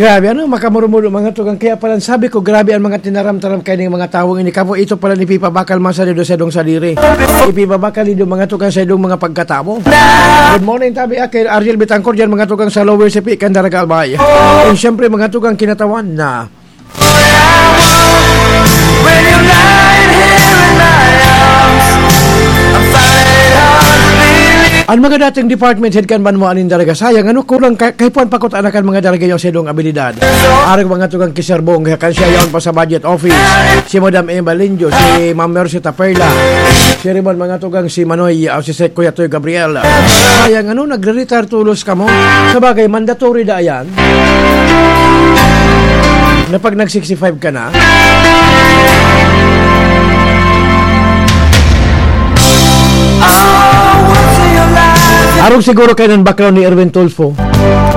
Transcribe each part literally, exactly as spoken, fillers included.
Grabe, ano, makamurumudo, mga tugang. Kaya pala, sabi ko, grabe ang mga tinaram-taram kaining mga tawong ini. Kapo, ito pala ni Pipa Bakal Masalido sa idong sadiri. Ipibabakal nindo, mga tugang, sa idong mga pagkatawo. Good morning, tabi, ah, kay Ariel Bitangkor dyan, mga tugang, sa Lower Sipi, Candaraga, Albay. And syempre, mga tugang, kinatawan na. When you lie here in my arms, I'm falling hard to believe. Ang mga dating department head kan banwaan nin Daraga, sayang, ano, kulang ka, kaipuhan pa kuta na kan mga Daraga yung sidong abilidad. Arog mga tugang kiserbong, kan siya yaon pa sa budget office. Si Madam Emma Linjo, si Ma'am Mercita Perla, si Raymond mga tugang si Manoy, ah, si Sek Kuya Toy Gabriel. Sayang, ano, nagre-retire tulos kamo. Sa bagay, mandatory da yan. Na pag nag sixty-five ka na. Arog siguro kayo ng background ni Erwin Tulfo.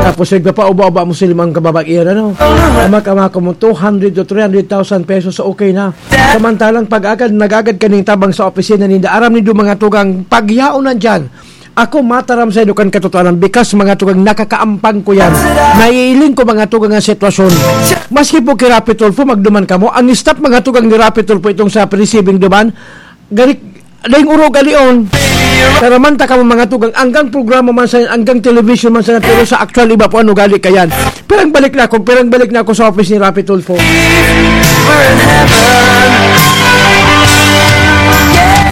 Tapos, nagpapauba-uba mo sa limang kababaihan, ano? Ama-ama ko mo, two hundred to three hundred thousand pesos, okay na. Samantalang pag-agad, nag-agad kaning tabang sa opisina ninda, aram nindo mga tugang, pagyaon na dyan. Ako mataram sa inyo kan katotohanan, bikas mga tugang, nakakaampang ko yan. Naiiling ko mga tugang ang sitwasyon. Maski po kay Rapi Tulfo, magduman kamo. Ang staff mga tugang ni Rapi Tulfo itong sa receiving duman, garik, daing urog alion. Taramanta kamo mga tugang, anggang programa man sa, anggang television man sa, pero sa actual iba po ano gali kayan. Pirang balik na ako, pirang balik na ako sa office ni Rapi Tulfo.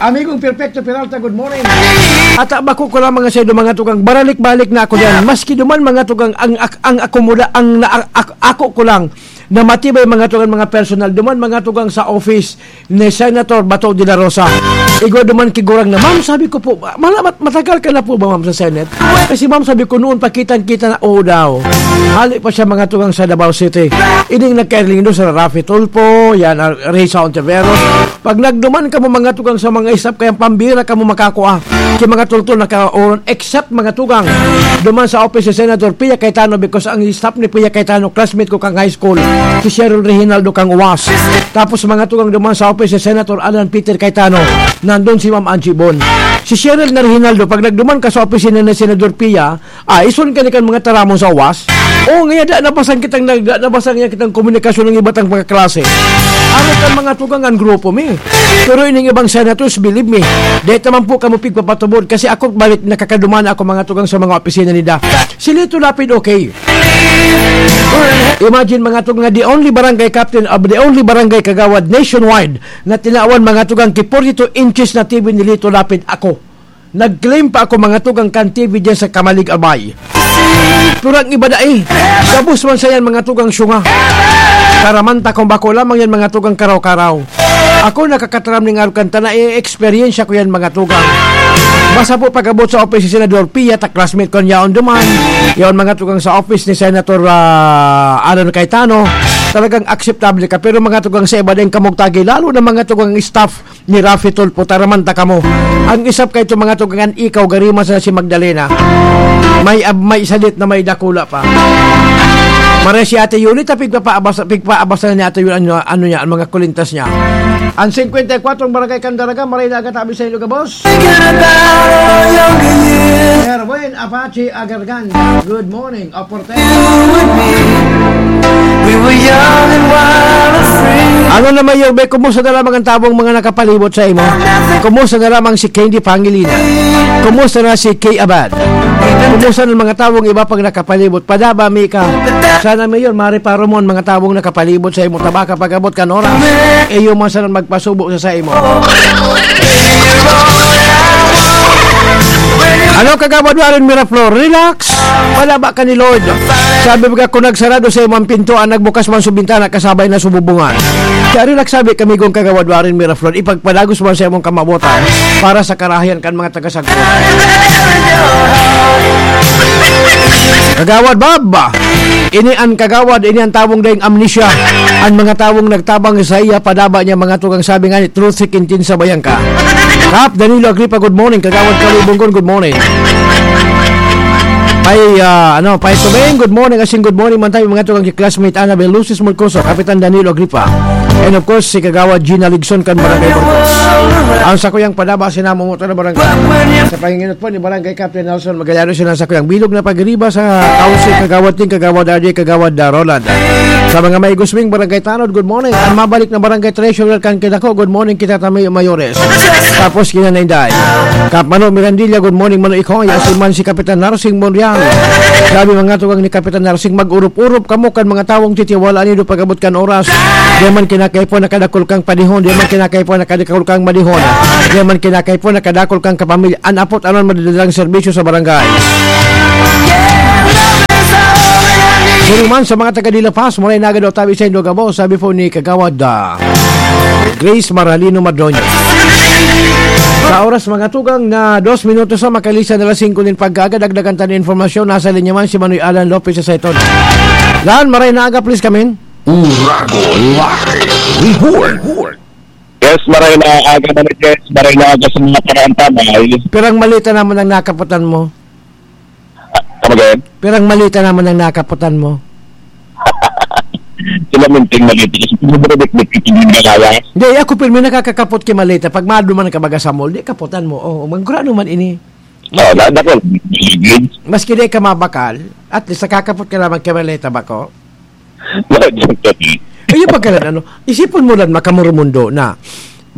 Amigong Perfecto Peralta, good morning. At, ah, bako ko lang mga saido, mga tugang, baralik-balik na ako diyan. Maski duman mga tugang, ang, ak-, ang akomoda, ang na-, ak-, ako ko lang na matibay mga tugang, mga personal. Duman mga tugang sa office ni Senator Bato de la Rosa. Igwa duman kigurang na, "Ma'am," sabi ko po, "mala-, mat-, matagal ka na po ba, ma'am, sa Senate?" Kasi, ma'am, sabi ko, noon pa kitang-kita na, oo daw. Hali pa siya mga tugang sa Davao City. Ining nagkairling doon sa Rafi Tulfo, yan, ah, Risa Ontiveros. Pag nagduman kamo mga tugang sa mga isap, kaya pambira kamo makakua. Ki mga tultol na kaoron, except mga tugang. Duman sa office si Senator Pia Cayetano because ang staff ni Pia Cayetano, classmate ko kang high school, si Cheryl Reginaldo kang uwas. Tapos mga tugang duman sa office si Senator Alan Peter Cayetano, nandun si Ma'am Angie Bon. Si Cheryl na Reginaldo, pag nagduman ka sa opisina ni Senador Pia, ah, ison ka ni kan mga taramon sa uwas? O, ngaya da nabasang kitang nag-, da nabasang niya kitang komunikasyon ng iba't ang mga klase. Ano kan mga tugang ang grupo mi? Pero ining ibang senators, believe me, dahil naman po kamo pigpapatubod kasi ako balik nakakaduman ako mga tugang sa mga opisina nila. Si Lito Lapid, okay. Imagine mga tugang nga the only barangay captain of the only barangay kagawad nationwide na tinawan mga tugang ki forty-two inches na T V ni Lito Lapid ako. Nag-claim pa ako mga tugang kan T V diyan sa Kamalig, Albay. Pero ang iba dai. Gabos man sa yan mga tugang syunga. Karamanta kung bako lamang yan mga tugang karaw-karaw. Ako nakakataram ning arog kan tana, i-eksperyensya ko yan mga tugang. Basta po pag-abot sa office ni Senador Pia, ta classmate ko yaon duman. Yaon mga tugang sa office ni Senator, ah, Alan Cayetano. Talagang akseptable ka. Pero mga tugang sa iba din kamugtagi, lalo na mga tugang staff ni Rafi Tulfo, taramanta kamo. Ang isap kay ito mga tugang, ikaw, gari man sana si Magdalena. May ab-, may salit na may dakula pa. Mare si Ate Yuli, ta pigpapaabas, pigpaabas na ni Ate Yuli, ano, ano niya, ang mga kulintas niya. Ang fifty-four barangay Candaraga, maray na agatabi sa Ilog, boss. Thinking about all your years. Erwin Apache Agargan, good morning. Oporte. You and me, we were young and wild and free. Ano na, Mayor Be, kumusta na lamang ang tawong mga nakapalibot sa imo? Kumusta na lamang si Candy Pangilinan? Kumusta na si Kay Abad? Kumusta na ang mga tawong iba pang nakapalibot? Padaba mi ka. Sana, Mayor, mareparo mo ang mga tawong nakapalibot sa imo. Tabaka pag-abot kan oras. Iyo man sana magpasubo sa, sa imo. Ano, Kagawad Warren Miraflor? Relax. Palaba ka ni Lord. Sabi baga, kung nagsarado sa imo ang pintuan, nagbukas man sa bintana, kasabay na sububungan. Kaya relax, sabi kami kong Kagawad Warren Miraflor, ipagpadagos man sa imong kamawotan para sa karahayan kan mga tagasagkot. Kagawad Bob, ini an kagawad, ini an tawong daing amnesia. An mga tawong nagtabang sa iya, padaba niya mga tugang sabi nga ni Truth Seeking Tin sa Bayangka. Kap Danilo Agripa, good morning. Kagawad Kalibonggon, good morning. Pay, ah, ano, Pay Tubeng, good morning. Asin good morning man tayo, mga tugang classmate Annabel Lucis Molcoso, Kapitan Danilo Agripa. And of course, si Kagawad Gina Ligson kan Barangay Burgos. Ang sakuyang padaba, sinamumoto na barangay. Sa panginginot po ni Barangay Captain Nelson Magallanes, yun ang sakuyang bilog na pagriba sa Council, Kagawad Ting, Kagawad R J, Kagawad, ah, Roland. Sa mga may gusming Barangay Tanod, good morning. Ang mabalik na Barangay Treasurer kan Kidako, good morning, kita tami mayores. Tapos, kinanay-day. Kap Mano Mirandilla, good morning, Mano Ikoy. Asin man si Kapitan Narsing Monreal. Sabi mga tugang ni Kapitan Narsing, mag-urup-urup kamo kan mga tawong titiwala nindo pag-abot kan oras. Di man kinakaipo nakadakol kang panihon, di man kinakaipo nakadakol kang manihon. Di man kinakaipo nakadakol kang kapamilya. An apot anon madadalang serbisyo sa barangay. Siring man sa mga taga Dila Paz, Moray Naga daw tabi sa Indogabo, sabi po ni Kagawad, ah, Grace Maralino Madroño. Sa oras, mga tugang, na dos minutos na makalisan na alas singko nin pagkaaga, dagdagan ta nin impormasyon. Nasa linya man si Manoy Alan Lopez sa Saiton. Lan, Maray na aga, please come in. Uragon Live Report. Yes, maray na aga, Manoy Jess. Maray na aga sa mga paraang tamay. Pirang maleta naman ang nakaputan mo? Come again? Pirang maleta naman ang nakaputan mo? Sila minting maleta. Kasi kung mababitbit ka, hindi na kaya. Hindi, ako pirmi nakakakapot ki maleta. Pag maduman ka baga sa mall, di kaputan mo. Oh, magkura naman ini. Oo, na, dako. Maski di ka mabakal, at least nakakapot ka naman ki maleta ba ko? No, joke, joke. Ayun pagkalan, ano, isipon mo lang, makamurumundo na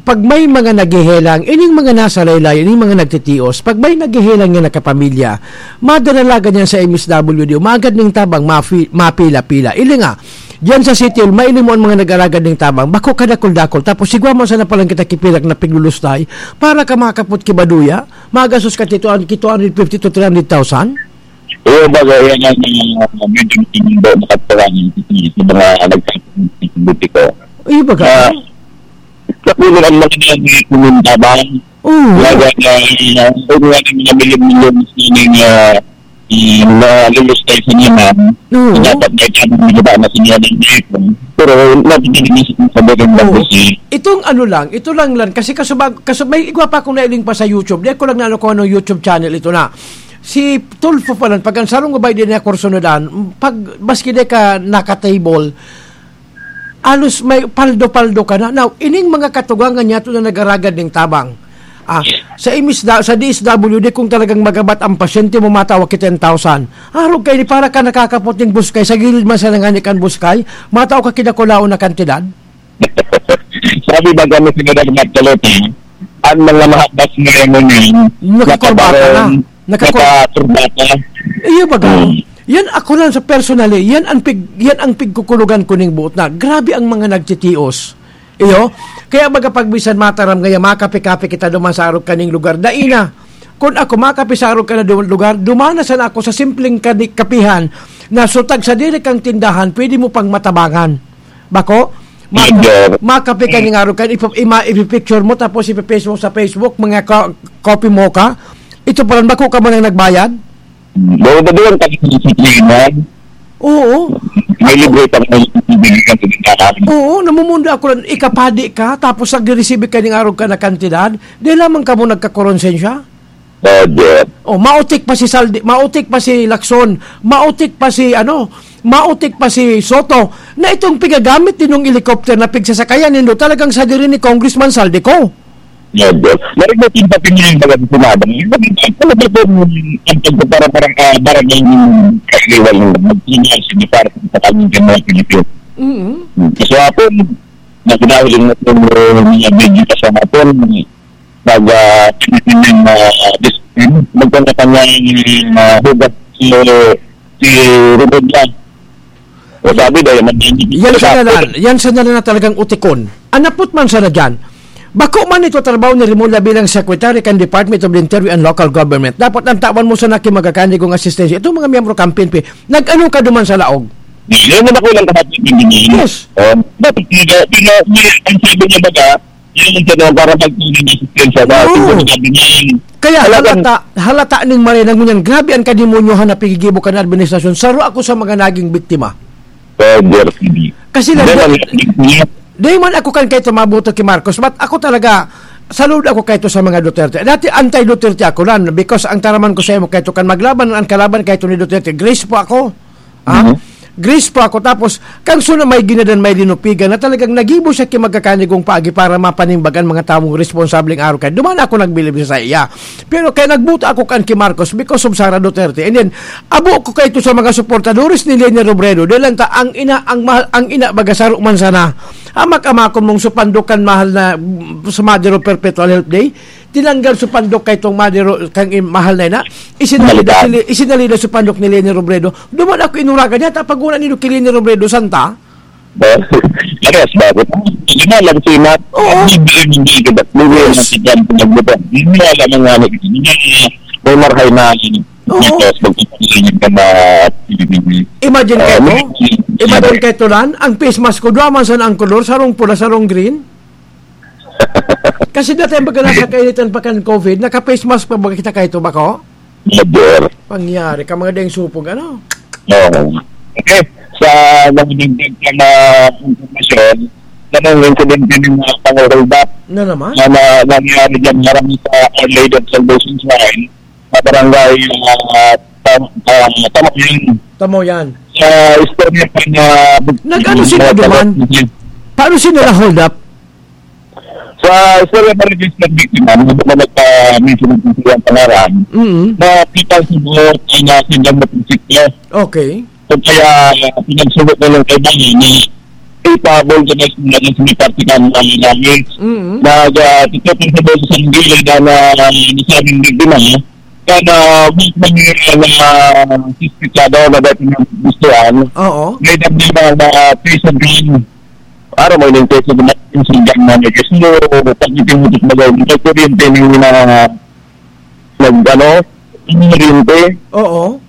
pag may mga naghehelang, ining mga nasa laylayan, ining mga nagtitios, pag may naghehelang nga nakapamilya, madaralagan yan sa M S W D, umaagad ning tabang, mafi-, mapila-pila. Ili nga, diyan sa City Hall, maili mo ang mga nag-aragad ning tabang, bako kadakol-dakol, tapos sigwa mo sana palang kita kipilak na piglulustay, para ka makakapot kibaduya, magasos ka tito, ang kito hundred fifty to three hundred thousand? Oo, baga, yan ang, ah, medyo hindi makatuwa ng sa mga nagsasabi ko. Iyo, baga? Ah, sa puno ang mga nagkuminta ba? Oo. Baga na, ah, kung nga ng mga milyon-milyon na sining, ah, i-, na lulustay sa niya, ma'am. Oo. Dapat may tamang nagaba na siya ng iPhone. Pero, napinilinis ko sa bagay na Oo. Kasi Itong ano lang, ito lang lang, kasi kasubag, kasub-, may igwa pa akong nailing pa sa YouTube. Di ko lang na ano kung anong YouTube channel ito na. Si Tulfo pa lang, pag ang sarong gabay din niya kurso na daan, pag maski di ka naka-table, alos may paldo-paldo ka na. Now, ining mga katugangan niya ito na nagaragad ning tabang. Ah, sa M S da-, sa D S W D, kung talagang magabat ang pasyente mo, matawa ki ten thousand. Arog kayo ni para ka nakakapot ning buskay, sa gilid man sa nangani kan buskay, matawa ka kinakulaon na kantidad. Sabi ba kami sa Gadang Magdalena, ang mga mahabas na yan mo niyan, Nakikorbata na. nakabarong, Nakikor- nakaturbata. Iyo baga? Hmm. Yan ako lang sa personally, yan ang pig-, yan ang pigkukulugan ko ning buot na. Grabe ang mga nagtitios. Iyo? Kaya baga pag bisan mataram ngaya, makape-kape kita duman sa arog kaning lugar. Dai na. Kun ako, makape sa arog ka na du-, lugar, dumana sana ako sa simpleng kani-, kapihan na sutag sa diri kang tindahan, pwede mo pang matabangan. Bako? Maka-, Hindi. makape ka ning arog ka, ipa-, ima-, ipipicture mo, tapos ipipost mo sa Facebook, mga ko-, copy mo ka. Ito pa rin, bako ka mo nang nagbayad? Bawa ba doon, pag sa Pilipinas, Oo. may libre pa rin ang bibigyan sa tindahan. Oo, namumundo ako lang, ikapadi ka, tapos nag-receive ka ning arog ka na kantidad, di lamang ka mo nagkakoronsensya? Roger. Oh, maotik pa si Saldi, maotik pa si Lacson, maotik pa si, ano, maotik pa si Soto, na itong pigagamit din ng helicopter na pigsasakayan nindo, talagang sadiri ni Congressman Saldico. Roger. Narinig mo yung papinili baga sa Senado. Yung pag-, ano ba itong, ang pagpapara-, parang, ah, barangay ng kailiwan ng magpinili sa department sa kanyang mga Pilipino? Mm. Kasi hapon, nagdahil yung, yung, yung mga video ka sa hapon, nag, ah, tinitingnan na, ah, dis-, magkanya-kanyang, ah, hugas si, si Robredo. O, sabi daw, yung mag- Yan sa nalan, yan sa nalan na talagang utikon. Anapot man sana dyan. Bako man ito trabaho ni Remulla bilang secretary kan Department of the Interior and Local Government. Dapat ang tawan mo sana ki magakani kung asistensya. Itong mga miyembro kan P N P, nag-ano ka duman sa laog? Yan ang ako lang kahapon yung ganyan. Yes. Oh, dapat pina-, pina-, pina-, ang sabi niya baga, yun yung tanong para magtuloy ng asistensya na Oo. siguro sabi niya yun. Kaya Talagang halata, halata ning marinang ngunyan, grabe ang kademonyohan na pigigibo kan administrasyon. Saro ako sa mga naging biktima. Roger, hindi. Kasi lang, Hindi, di, di man ako kan kaito mabuto ki Marcos, but ako talaga, saludo ako kaito sa mga Duterte. Dati anti-Duterte ako lan, because ang taraman ko sa imo kaito kan maglaban, ang kalaban kaito ni Duterte, Grace po ako. Ha? Mhm. Greece pa ako, tapos kan suna may ginadan, may linupigan na talagang nagibo siya ki magkakanigong paagi para mapanimbagan mga tawong responsableng araw kaya duman ako nagbilib sa iya. Pero kaya nagbuta ako kan ki Marcos because of Sara Duterte. And then, abo ko kaito sa mga suportadores ni Leni Robredo. Dahil lang ta, ang ina, ang mahal, ang ina baga saro man sana. Amak-amakon mong supandok kan mahal na, mm, sa Madero Perpetual Health Day. Tinanggal supandok kay tong Madero, kang im-, mahal na ina. Isinalida, Balikan. sili-, isinalida supandok ni Leni Robredo. Duman ako inuragan niya, tapag una nindo ki Leni Robredo, santa? Parehas ba? Hindi na lang si Matt. Oo. Hindi, hindi, hindi, hindi, hindi, Yes. hindi, hindi, hindi, hindi, hindi, alam mo nga, hindi, hindi, may marhay na, Oo. Tapos magpapakilala ka na, Imagine Ah, kayo, may, imagine kayo, Lan, ang face mask ko, duwa man sana ang kolor, sarong pula, sarong green. Kasi dati ang pagka nasa kainitan pa kan covid, naka-face mask pa ba kita kaito, bako? Major. Pangyari ka, mga dayang supog, ano? Oo. Okay. Sa nagdagdag ka na impormasyon, na nang insidente ng mga pangorolda Na naman? na, na nangyari dyan, harang sa Our Lady of Salvation Shrine, sa barangay, ah, Tam-, ah, Tamayan. Tamo yan. Sa istorya pa na Nag-ano sila duman? Paano sila na-hold up? Sa istorya pa rin sa biktima, hindi ko pa nagpa-mention ng kung sino ang pangalan, Mm. na kita siguro ay nasindang motorsiklo. Okay. Kung kaya, pinagsugot na lang kay Bani ni ipahabol ka na sa mga sa may parte ka ng langit. Mm. Nag, ah, tito, kung sa boses ang gilid na, na, na nasabing biktima, kana, may mangyayari na suspitsado na dati ng gustuhan. Oo. May dagdag na, na prison gun. Araw mo yung prison gun, yung singgang na may gusto, pag ipinutut mo daw, may kuryente na, nag, ano, yung kuryente. Oo.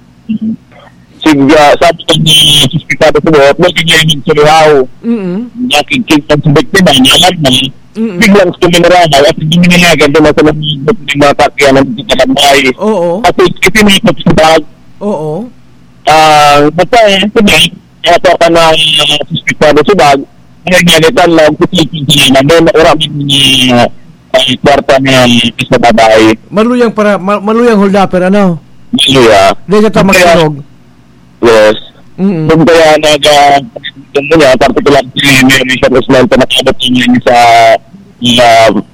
Sig, ah, sabi ko ni suspitsado sa buhok, "Huwag niya yung surihaw." Mm. Nakikita sa biktima, niya alam na, Mm. biglang suminarahaw at hindi nila agad na sa mga, mga sakyan ang nagkakalambay. Oo. At ipinipot sa bag. Oo. Ah, basta, eh, ito na, kaya po ka na, ah, suspitsado sa bag, ay, nalitan lang, kusikin sila na, may naura man ni, ah, ay, kwarta ni, sa babae. Maluyang para, ma-, maluyang hold upper, ano? Maluya. Di siya ta Kaya, magsunog. Yes. Mm. Kung kaya nag, ah, kung muna, particular si Mary Charles Lanta, nakabot niya sa, sa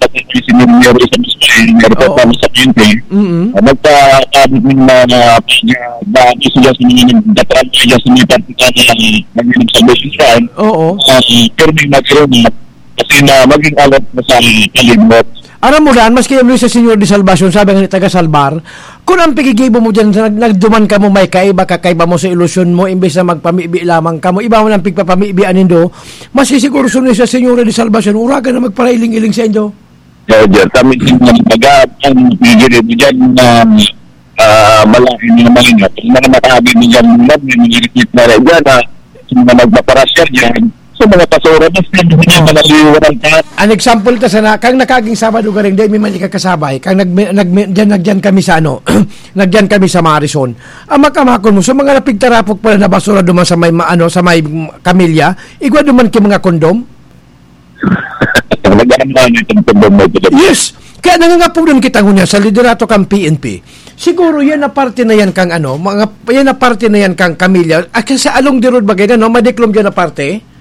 pati si Mary sa Biscay, Mary Oo. Papa sa Quinte. Mm. Ah, magkakabot ng mga pag, ah, ba, gusto niya sa mga nagdatrap niya sa mga particular na nag-inom sa Biscay. Oo. Ah, pirming nag-inom na kasi na maging alert na sa kalibot. Aram mo dan, maski ang Luis sa Señor de Salvacion, sabi nga ni taga Salbar, kun ang pigigibo mo dyan, nag-, nagduman ka mo, may kaiba, kakaiba mo sa ilusyon mo, imbes na magpamibi lamang ka mo, iba mo nang pigpapamibi anindo, masisiguro sunod sa Señor de Salvacion, uragan na magparailing-iling sa indo. Roger, kami din ng taga, ang pigigibo dyan na ah, malaking mga malingat. Yung mga nakabi ni Jan Mulan, may mga receipt na rin dyan, ah, yung mga nagpaparasya dyan, sa mga pasura, mas hindi na malaliwanan ka. An example ta sana, kang nakaging Sabado garing, dai mi man ikakasabay, kang nag-, nag-, dyan, nagdyan kami sa ano, nagdyan kami sa Marison. Ang makamakon mo, sa mga napigtarapok pala na basura duman sa may ma-, ano, sa may kamilya, igwa duman ki mga kondom? Nag-ano na yung tungkol mo, Yes! Kaya nangangapunan kita ngunyan sa liderato kan P N P. Siguro yan na parte na yan kang ano, mga, yan na parte na yan kang kamilya. At kasi along the road bagay na, no? Madiklom yan na parte.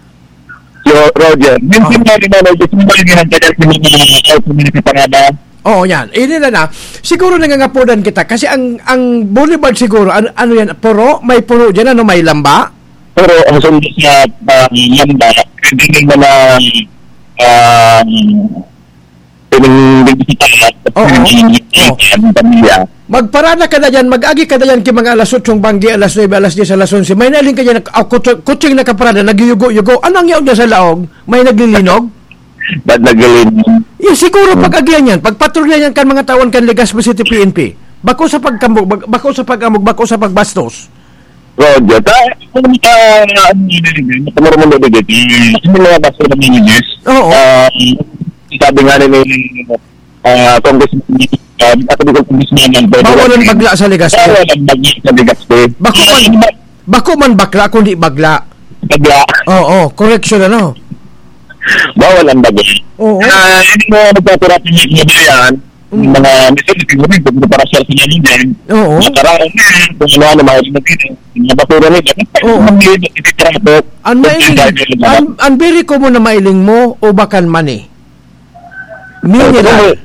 So, Roger, minsan Oh. nga rin, ano, gusto mo ba yung ginagawa sa mga auto na nakaparada? Oo, yan. Ini na na. Siguro nangangapunan kita. Kasi ang, ang boulevard siguro, ano, ano yan? Puro? May puro dyan, ano? May lamba? Pero ang sundo sa, ah, lamba, pwede rin mo na, ah, pwedeng bibisita at Oo. pwedeng Oo. ang pamilya. Magparada ka na dyan, mag-agi ka na dyan ki mga alas otsong banggi, alas nuebe, alas dyes, alas onse. May nailing ka dyan, ah, kutso-, kutseng nakaparada, nagyuyugo-yugo. Ano ang yaon dyan sa laog? May naglilinog? Ba't naglilinog? Yeah, siguro Hmm. pag-agihan yan, pagpatrolya yan kan mga tawan kan Legazpi City P N P. Bako sa pagkambog, bag-, bako sa pag-amog, bako sa pagbastos. Roger, ta, kung ka, ano yun, yun, yun, kung marunong mo, yun, yun, yung mga basta ng English, Oo. ah, sabi nga ni, ah, Congressman, ah, at the Congressman ng Bawal ang bagla sa Legazpi. Bawal ang bagla sa Legazpi. Bako man, Ah, bako man bakla, kundi bagla. Bagla. Oo, correction, ano? Bawal ang bagla. Oo. Ah, hindi mo nagpapurap yung media yan. Mm. Mga misil, siguro, yung preparasyon sa mga yan. Oo. Mga taraon na yan, kung ano-ano, mga limit dito. Mga basura nila. Oo. Ang mga limit, ititrapo. Ang Kung nailing, sinabi nila. ang, ang very common na mailing mo, ubakan man eh. Mineral. Oo.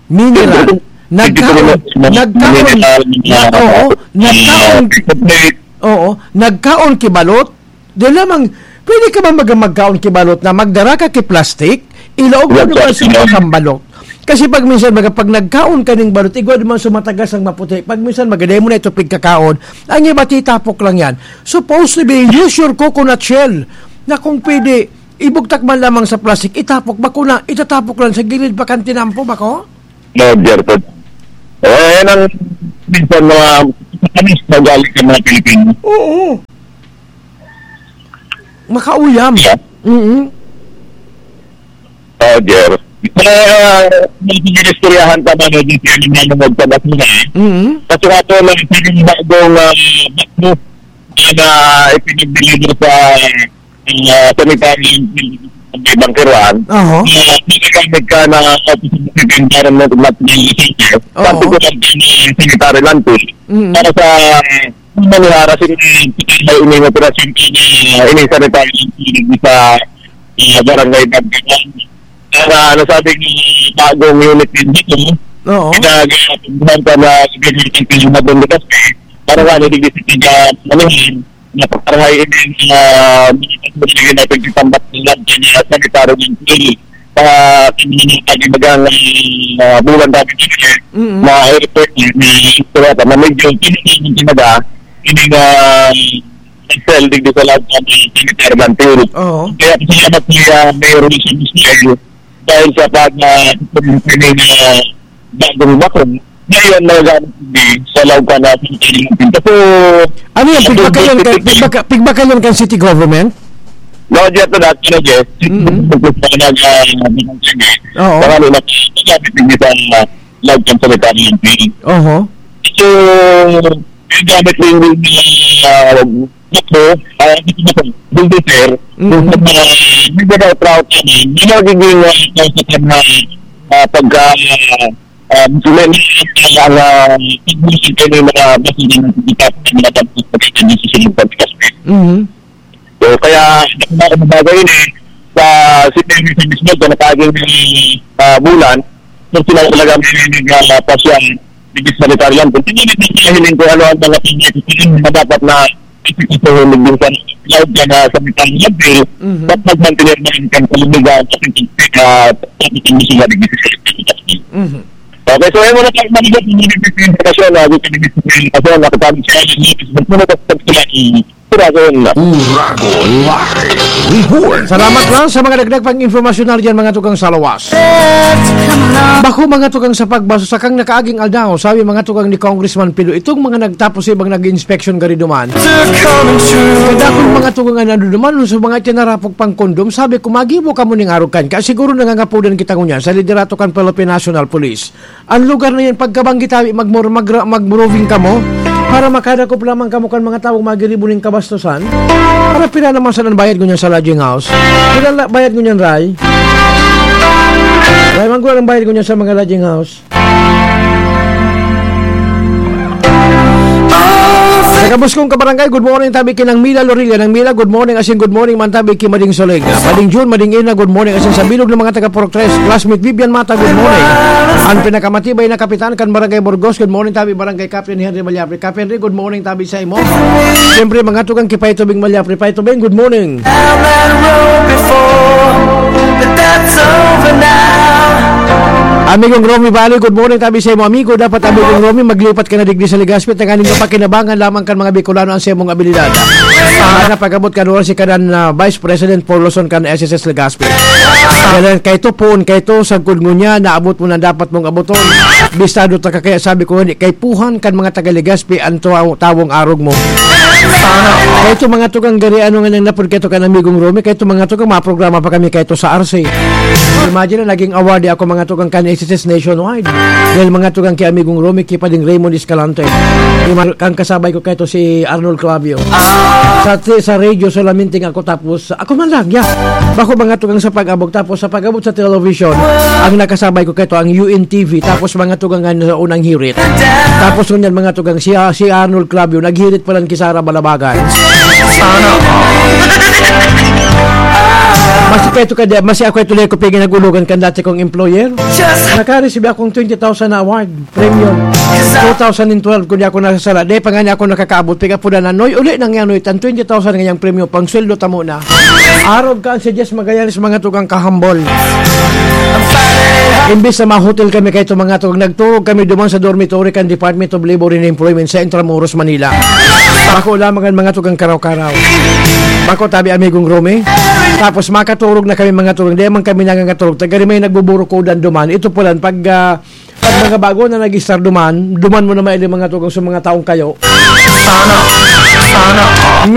Mineral. Hindi Nagkaon, ko na, nagkaon, mineral, na, mga, oo, mga, nagkaon, mga, oo, nagkaon ki balot. Di lamang, pwede ka ba mag-, magkaon ki balot na magdara ka ki plastic, ilaog mo Yes, naman sir. sa mga kambalot? Kasi pag minsan, mga, pag nagkaon ka ning balot, igwa naman sumatagas ang maputi. Pag minsan, magaday mo na ito pigkakaon, ang iba titapok lang yan. Supposed to be, use your coconut shell na kung pwede, ibugtak man lamang sa plastic, itapok, bako na, itatapok lang sa gilid, bakantinampo, bako? No, Jerton. Eh, yan ang minsan mga matamis na ugali ng mga Pilipino. Oo. Makauyam. Yeah. Mm-mm. Oh, Jer. Eh, ah, may pinilistoryahan pa man, eh, di siya naman magpabasura, eh. Mm-mm. Kasi nga po, may isang bagong, ah, bakbo na ipinagdeliver sa, ah, sanitary landfill sa may Bangkeruan. Oho. Ah, magagamit ka na Office of the Environment and Natural Resources, Oo. particular din yung sanitary landfill. Mm. Para sa Manihara, sin-, may ining operasyon ko na ining sanitary sa, ah, barangay Bagdagan. Kaya nasabi ni bagong unit din dito, Oo. ginagawa pa na gamitin ko yung madon de Caspe, para nga naligis sa tiga Manihan, napagkarahay ining, ah, mga pagkakas na pagkakambak nila, kaya sanitary landfill. Sa kanilang pag-ibagang, ah, bulan dati dito, Mm-mm. na airport, na istorya na medyo kinikilig talaga, hindi na excel digdi sa lahat ng sanitary landfill. Oo. Kaya salamat ni, ah, Mayor Wilson Ismail dahil sa pag, ah, pag-, bagong bakong. Ngayon, magagamit hindi sa loob ka na sanitary landfill. Kasi, Ano yan? Pigbakal yan kan, pigbakal, pigbakal yan kan city government? No, Jeff, na dati na, Jeff. Mm-hmm. Nag-, ah, Oo. Marami na, nagamit din sa loob ng sanitary landfill. Oho. So, yung gamit din yung, ah, ito, ah, ito na po, bulldozer, Mm. yung, ah, yung mga trout namin, yung nagiging, ah, kausap na, ah, pagka, ah, ah, may, may, ang, ah, pagbusin kayo ng mga basura ng pagkakita ng mga pagkakita ng susunod pagkakita. Mhm. So, kaya, ang bagay ini, sa City Commission mismo, sa nakaging, ah, bulan, kung sila talaga may nagpasyang digis sanitarian, kung hindi nila hiling kung ano ang mga pangyayaring na dapat na ipipisahin din sa loob ka na sa mitang level, Mhm. at magmantener na rin kang kalumigan at ang, ah, at ang misyon na digis sanitarian. Mhm. Okay, so, ayun muna tayo, maligat yung mga implikasyon na gusto nyo gusto nyo implikasyon, nakatawag siya, yung mga gusto nyo gusto nyo Uragon. Uragon Live Report. Salamat lang sa mga dagdag pang impormasyonal diyan, mga tugang sa lawas. Bako, mga tugang, sa pagbaso sa kang nakaaging aldaw, sabi, mga tugang, ni Congressman Pilo, itong mga nagtapos sa ibang nag-inspeksyon gari duman. Kadakul, mga tugang, ano duman, sa mga itinarapog pang kondom, sabi ko, magibo kamo ning arog kan. Kaya siguro nangangapudan kita ngunyan sa liderato kan Philippine National Police. An lugar na yan, pagkabanggi tabi, magmor-, magra-, mag-roving kamo, para makadakop lamang kamo kan mga tawong magiribo nin kabastusan. Para pira naman sa bayad ngunyan sa lodging house? Pira la-, bayad ngunyan, Ray? Ray, manggura ang bayad ngunyan sa mga lodging house. Sa Kabuskong Kabarangay, good morning, tabi ki Nang Mila Lorilla. Nang Mila, good morning, asin good morning man tabi ki Mading Soling. Mading Jun, Mading Ina, good morning, asin sa bilog ng mga taga Purok Tres. Classmate Vivian Mata, good morning. An pinakamatibay na kapitan kan Barangay Burgos, good morning, tabi Barangay Captain Henry Malyapre. Captain Henry, good morning, tabi sa imo. Siyempre, mga tugang ki Pay Tubing Malyapre. Pay Tubing, good morning. Amigong Romy Bali, good morning, tabi sa imo, amigo. Dapat, Amigong Romy, maglipat ka na digdi sa Legazpi, tanganing mapakinabangan lamang kan mga Bicolano ang saimong abilidad. Sana pag-abot kan oras si kanan na Vice President Paul Luzon kan S S S Legazpi. Kaya kaito, poon kaito, sagkod ngunyan, naabot mo na dapat mong aboton. Bistado ta ka, kaya sabi ko, hindi, kaipuhan kan mga taga Legazpi ang taw-, tawong arog mo. Kaya ito mga tugang gari, ano nga nang napod kayo kan Amigong Romy, kaya ito mga tugang mga programa pa kami kayo sa R C. Imagine na naging award ako mga tugang kan S S S Nationwide. Dahil mga tugang kay Amigong Romy, kipading Raymond Escalante. Yung mga- ang kasabay ko kayo si Arnold Clavio. Sa, sa radio, solamente nga ako tapos, ako man lang, yeah. Bako mga tugang sa pag-abot, tapos sa pag-abot sa television, ang nakasabay ko kayo ang U N T V, tapos mga tugang nga sa unang hirit. Tapos ngunyan mga tugang, si, si Arnold Clavio, naghirit pa lang ki Sara Balabagan. Sana all. Masi kayo ka, masi ako ito ko pinag-ulogan kan dati kong employer. Just Nakareceive akong twenty thousand na award, premium. Two thousand twelve, kung di ako nasasala. Di pa nga niya ako nakakaabot. Piga po na, Noy, uli nang yan, Noy. Tan twenty thousand ngayang premium, pang sweldo tamo na. Arog ka, si Jess Magallanes, mga tugang kahambol. Imbis na ma-hotel kami kayo, mga tugang, nagturog kami duman sa dormitory kan Department of Labor and Employment sa Intramuros, Manila. Ako lamang ang mga tugang karaw-karaw. Bako tabi, Amigong Romy. Tapos makaturog na kami, mga tugang. Di man kami nangangaturog. Tagari may nagbuburukodan duman. Ito po lang, pag, ah, pag mga bago na nag-start duman, duman mo na maili, mga tugang, sa mga taong kayo. Sana, sana.